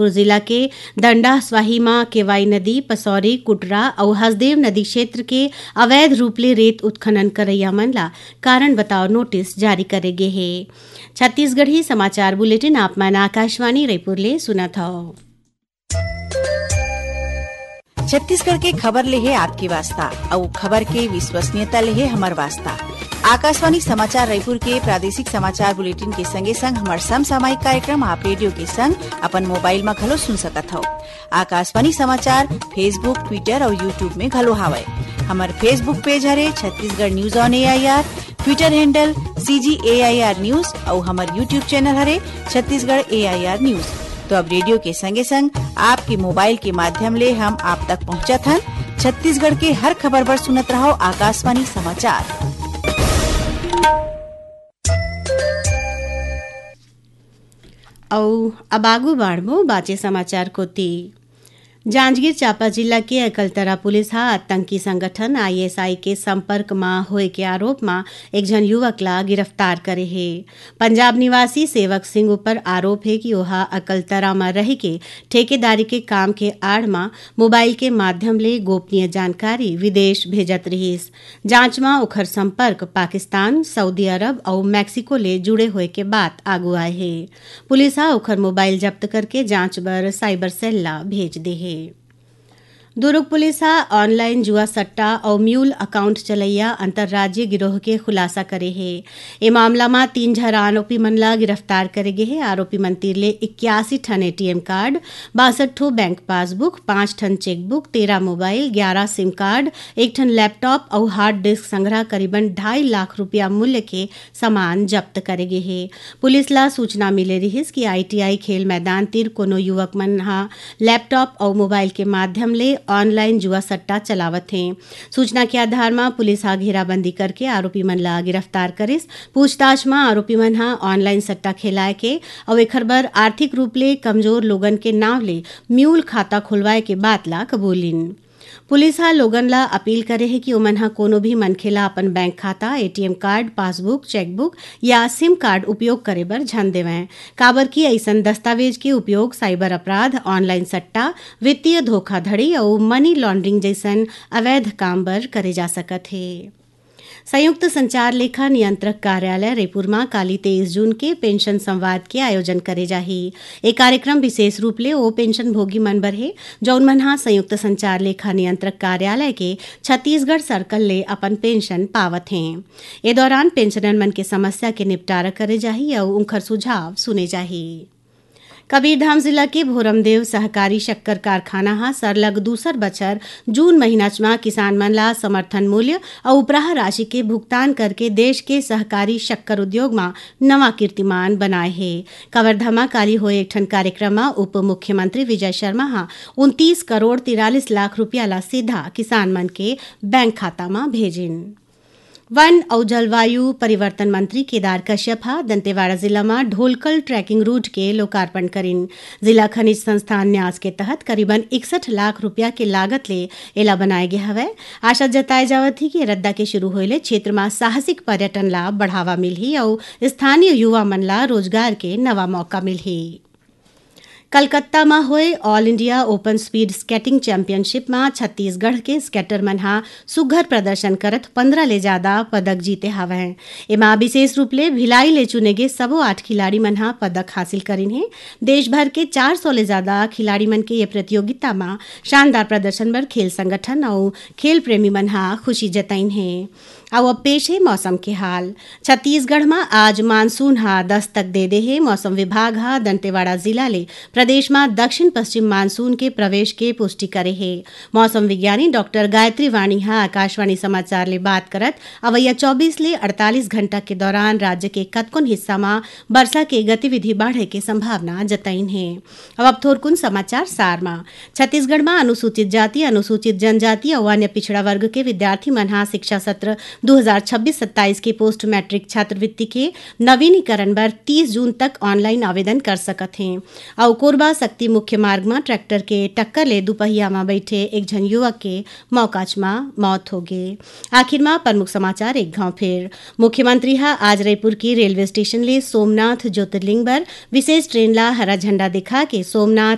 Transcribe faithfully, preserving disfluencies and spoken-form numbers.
जिला के दंडास्वाही म केवाई नदी, पसौरी, कुटरा अउ हसदेव नदी क्षेत्र के अवैध रूप ले रेत उत्खनन करइया मन ला कारण बताओ नोटिस जारी करे गे हे। छत्तीसगढ़ी समाचार बुलेटिन आप मन आकाशवाणी रायपुर ले सुनत हव। छत्तीसगढ़ के खबर ले हे आपके वास्ता, अउ खबर के विश्वसनीयता ले हे हमर वास्ता। आकाशवाणी समाचार रायपुर के प्रादेशिक समाचार बुलेटिन के संगे संग हमर समसामयिक कार्यक्रम आप रेडियो के संग अपन मोबाइल म घलो सुन सकत हव। आकाशवाणी समाचार Facebook, Twitter अउ YouTube में घलो हावय। हमर Facebook पेज हरे Chhattisgarh news on AIR, Twitter handle CG AIR news अउ हमर YouTube चैनल हरे छत्तीसगढ़ एआईआर न्यूज। तो अब रेडियो के संगे संग आपके मोबाइल के माध्यम ले हम आप तक पहुंचत हन छत्तीसगढ़ के हर खबर बर सुनत रहव आकाशवाणी समाचार। अउ अब आगू बाढ़बो बाचे समाचार कोती। जांजगीर चांपा जिला के अकलतरा पुलिस ह आतंकी संगठन आईएसआई के संपर्क म होए के आरोप म एक झन युवक ला गिरफ्तार करे हे। पंजाब निवासी सेवक सिंह ऊपर आरोप हे कि ओहा अकलतरा म रहिके ठेकेदारी के काम के आड़ म मोबाइल के माध्यम ले गोपनीय जानकारी विदेश भेजत रिहिस। जांच म ओखर संपर्क पाकिस्तान, सऊदी अरब अउ मैक्सिको ले जुड़े होए के बात आगू आए हे। पुलिस ह ओखर मोबाइल जब्त करके जांच बर साइबर सेल ला भेज दे हे। दुरूग पुलिस ह ऑनलाइन जुआ सट्टा अउ म्यूल अकाउंट चलइया अंतर्राज्यीय गिरोह के खुलासा करे हे। ए मामला म तीन झन आरोपी मन ला गिरफ्तार करे गे हे। आरोपी मन तीर ले इक्यासी ठन एटीएम कार्ड, बासठ ठो बैंक पासबुक, पाँच ठन चेकबुक, तेरह मोबाइल, ग्यारह सिम कार्ड, एक ठन लैपटॉप अउ हार्ड डिस्क संग्रह करीबन ढाई लाख रुपया मूल्य के सामान जब्त करे गे हे। पुलिस ला सूचना मिले रिहिस कि आईटीआई खेल मैदान तीर कोनो युवक मन ह लैपटॉप अउ मोबाइल के माध्यम ले ऑनलाइन जुआ सट्टा चलावत हे। सूचना के आधार म पुलिस ह घेराबंदी करके आरोपी मन ला गिरफ्तार करिस। पूछताछ म आरोपी मन ह ऑनलाइन सट्टा खेलाय के अउ एखर बर आर्थिक रूप ले कमजोर लोगन के नांव ले म्यूल खाता खोलवाय के बात ला कबूलिन। पुलिस ह लोगन ला अपील करे हे कि ओमन ह कोनो भी मनखे ला अपन बैंक खाता, एटीएम कार्ड, पासबुक, चेकबुक या सिम कार्ड उपयोग करे बर झन देवंय, काबर कि अइसन दस्तावेज के उपयोग साइबर अपराध, ऑनलाइन सट्टा, वित्तीय धोखाधड़ी अउ मनी लॉन्ड्रिंग जइसन अवैध काम बर करे जा सकत हे। संयुक्त संचार लेखा नियंत्रक कार्यालय रईपुर म काली तेईस जून के पेंशन संवाद के आयोजन करे जाही। ए कार्यक्रम विशेष रूप ले ओ पेंशन भोगी मन बर हे, जउन मन ह संयुक्त संचार लेखा नियंत्रक कार्यालय के छत्तीसगढ़ सर्कल ले अपन पेंशन पावत हें। ए दौरान पेंशनर मन के समस्या के निपटारा करे जाही अउ उंखर सुझाव सुने जाही। कबीरधाम जिला के भोरमदेव सहकारी शक्कर कारखाना ह सरलग दूसर बछर जून महीनाच म किसान मन ला समर्थन मूल्य अउ उपराह राशि के भुगतान करके देश के सहकारी शक्कर उद्योग म नवा कीर्तिमान बनाए हे। कवर्धा म काली होए एक ठन कार्यक्रम म उप मुख्यमंत्री विजय शर्मा ह उनतीस करोड़ तिरालीस लाख रुपया ला सीधा किसान मन के बैंक खाता म भेजिन। वन अउ जलवायु परिवर्तन मंत्री केदार कश्यप ह दंतेवाड़ा जिला म ढोलकल ट्रैकिंग रूट के लोकार्पण करिन। जिला खनिज संस्थान न्यास के तहत करीबन इकसठ लाख रुपया के लागत ले एला बनाए गे हवय। आशा जताए जावत हे कि रद्दा के शुरू होए ले क्षेत्र म साहसिक पर्यटन ला बढ़ावा मिलही अउ स्थानीय युवा मन ला रोजगार के नवा मौका मिलही। कलकत्ता म होए all India open speed skating championship म छत्तीसगढ़ के स्केटर मन ह सुघ्घर प्रदर्शन करत पंद्रह ले जादा पदक जीते हवंय। एमा विशेष रूप ले भिलाई ले चुने गे सबो आठ खिलाड़ी मन ह पदक हासिल करिन हे। देश भर के चार सौ ले जादा खिलाड़ी मन के ये प्रतियोगिता म शानदार प्रदर्शन बर खेल संगठन अउ खेल प्रेमी मन ह खुशी जताइन हे। अउ अब पेश हे मौसम के हाल। छत्तीसगढ़ म आज मानसून ह दस्तक दे दे हे। मौसम विभाग ह दंतेवाड़ा जिला ले प्रदेश म दक्षिण पश्चिम मानसून के प्रवेश के पुष्टि करे हे। मौसम विज्ञानी डॉक्टर गायत्री वाणी ह आकाशवाणी समाचार ले बात करत अवइया चौबीस ले अड़तालीस घंटा के दौरान राज्य के कतकोन हिस्सा म बरसा के गतिविधि बाढ़े के संभावना जताइन हे। अब आप थोरकुन समाचार सार म। छत्तीसगढ़ म अनुसूचित जाति, अनुसूचित जनजाति अउ अन्य पिछड़ा वर्ग के विद्यार्थी मन ह शिक्षा सत्र दू हजार छब्बीस सत्ताईस के पोस्ट मैट्रिक छात्रवृत्ति के नवीनीकरण बर तीस जून तक ऑनलाइन आवेदन कर सकत हें। अउ कोरबा सक्ती मुख्य मार्ग म ट्रैक्टर के टक्कर ले दुपहिया म बइठे एक झन युवक के मौकाच म मौत होगे। आखिर म प्रमुख समाचार एक घांव फेर। मुख्यमंत्री ह आज रईपुर के रेलवे स्टेशन ले सोमनाथ ज्योतिर्लिंग बर विशेष ट्रेन ला हरा झंडा दिखा के सोमनाथ